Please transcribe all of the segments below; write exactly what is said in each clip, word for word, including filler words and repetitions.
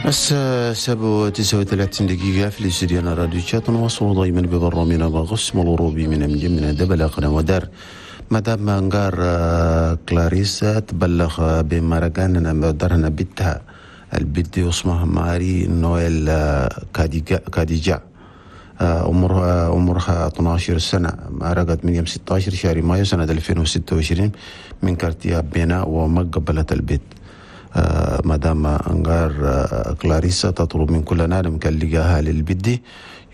الساعة سبعة وتسعة وثلاثين دقيقة في الاستديو راديو تشاد. نواصل دائما ببرنامجنا بقسم الأوروبي من مجمنا دبل ودار. مدام انغار كلاريسا تبلغ بمرقان دارنا بنتها البنت اسمها ماري نويل كاديجا، عمرها عمرها اثنا عشر سنة، مرقت من يوم ستة عشر شهر مايو سنة ألفين وستة وعشرين من quartier بينا وما قبلت البيت. مدام انغار كلاريسا تطلب من كل نادم كان لقاها للبدي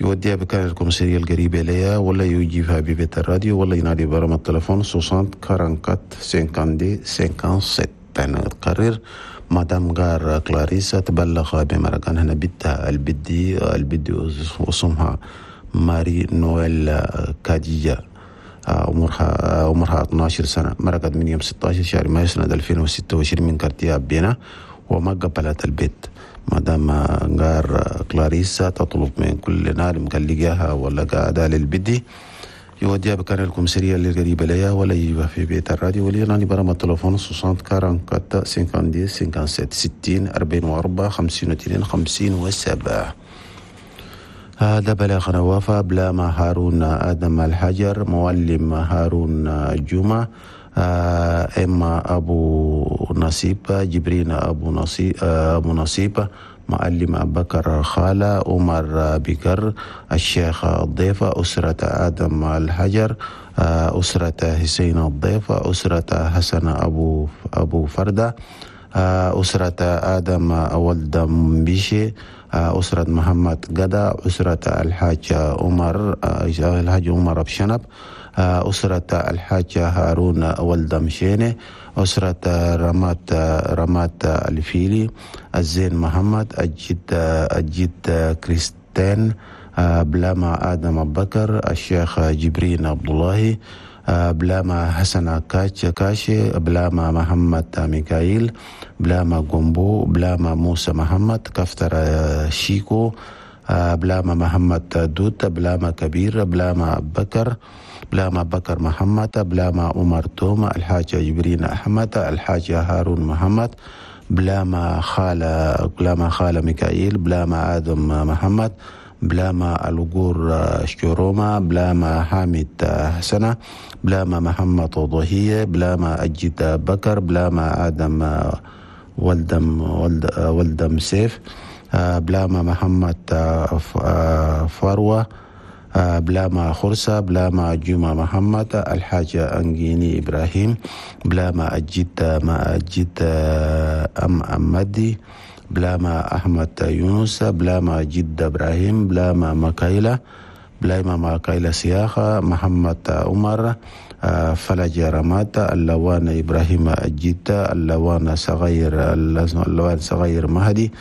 يوديها بكان ال commissariat القريبة ليها، ولا يجيبها ببيت الراديو، ولا ينادي برقم التليفون soixante quarante-quatre cinquante-deux cinquante-sept. نكرر، مدام غار كلاريسا تبلغ بمرقان هنا بنتها البدي البدي اسمها ماري نويل كاديجا، عمرها عمرها اثنا عشر سنة، مرقت من يوم ستة عشر شهر مايو سنة ألفين وستة وعشرين من quartier بينا وما قبلت البيت. مدام غار كلاريسا تطلب من كل نادم كان لقاها ولا قاعدة للبدي يوديها بكان ال commissariat اللي قريبة ليها، ولا يجيبها في بيت الراديو، ولا ينادي برقم التليفون soixante quarante-quatre cinquante-deux cinquante-sept، ستين أربعين وأربعة خمسين واثنين خمسين وسبعة. هذا بلاغ نوافة بلاما هارون آدم الحجر، معلم هارون جمعة، إما أبو نصيب، جبرين أبو نصيب، أبو نصيب، معلم أبو بكر خالة، عمر بكر، الشيخ الضيفة، أسرة آدم الحجر، أسرة حسين الضيفة، أسرة حسن أبو أبو فردة، أسرة آدم ولد بيشي، أسرة محمد قدا، أسرة الحاج عمر الحاج عمر أبشنب، أسرة الحاج هارون ولد مشيني، أسرة رمات رمات الفيلي، الزين محمد، الجد الجد كريستين، بلاما آدم بكر، الشيخ جبرين عبد الله، بلاما حسن كاتش كاشي، بلاما محمد ميكائيل، بلاما جومبو، بلاما موسى محمد، كفتر شيكو، بلاما محمد دوت، بلاما كبير، بلاما بكر، بلاما بكر محمد، بلاما عمر توما، الحاج جبرين أحمد، الحاج هارون محمد، بلاما خالة بلاما خالة ميكائيل، بلاما آدم محمد، بلاما الغور شوروما، بلاما حامد حسنة، بلاما محمد ضهية، بلاما أجد بكر، بلاما آدم ولدم ولد ولدم سيف، بلاما محمد فروة، بلاما خرسة، بلاما جمعة محمد، الحاج أنجيني إبراهيم، بلاما أجد ما أجد أم أمدي، بلاما أحمد يونس، بلاما جد إبراهيم، بلاما مكايلة، بلاما مكايلة سياخة، محمد عمر، فلج رمات، اللوان إبراهيم الجد، اللوان صغير اللوان صغير مهدي،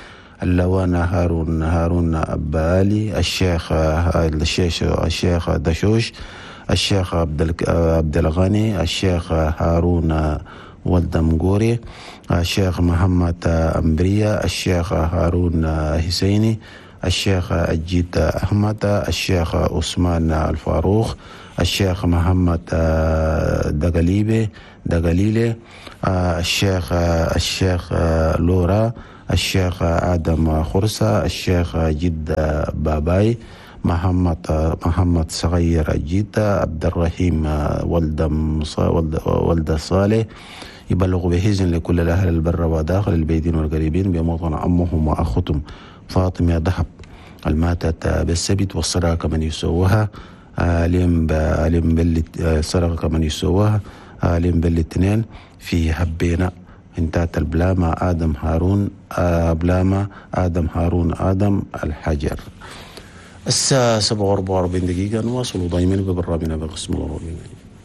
اللوان هارون هارون أبالي، الشيخ الشيخ الشيخ دشوش، الشيخ عبد عبد الغني، الشيخ هارون ولد مقوري، الشيخ محمد أمبرية، الشيخ هارون حسيني، الشيخ الجيد أحمد، الشيخ عثمان الفاروق، الشيخ محمد دقليبي دقليلي، الشيخ الشيخ لورا، الشيخ آدم خرسة، الشيخ جد باباي، محمد محمد صغير جيتا، عبد الرحيم ولد ولد صالح. يبلغ بحزن لكل الأهل البر وداخل البيدين والقريبين بموطن أمهم وأختهم فاطمة ذهب الماتت بالسبت، والصداقة من يسووها اليوم اليوم الصداقة من يسووها اليوم بالاثنين في هبينا. انتهت البلامة آدم هارون بلامة آدم هارون آدم الحجر. الساعة سبعة وأربعة وأربعين دقيقة، نواصل دائما ببرنامجنا بقسم الأوروبي.